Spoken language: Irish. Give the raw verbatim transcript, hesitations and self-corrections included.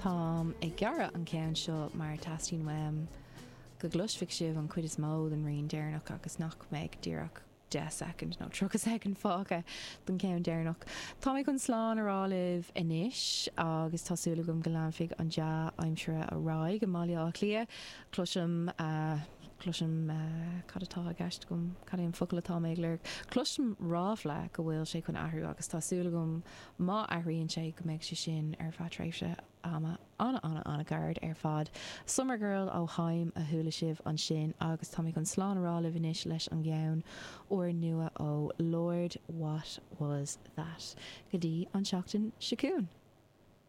Táim ag gearradh an ceann seo mar teastaíonn uaim go gcloisfidh sibh an chuid is mó den rian deireanach agus nach mbeidh díreach deich soicind nó tríocha soicind fágtha don cheann deireanach. Tá mé chun slán a rá libh anois agus tá súil agam go leanfaidh an dea-aimsir ar aghaidh i mBaile Átha Cliath. Cloisim cloisim cad atá i gceist agam cad é an focal atá mé ag lorg. Cloisim ráfla go bhfuil sé chun athrú agus tá súil agam má athraíonn sé go mbeidh sé sin ar feadh tréimhse ama ana ana ana ghairid ar fad. Summer Girl ó Haim a chuala sibh ansin agus tá mé chun slán a rá libh anois leis an gceann úrnua ó Lorde What Was That go dtí an seachtain seo chugainn.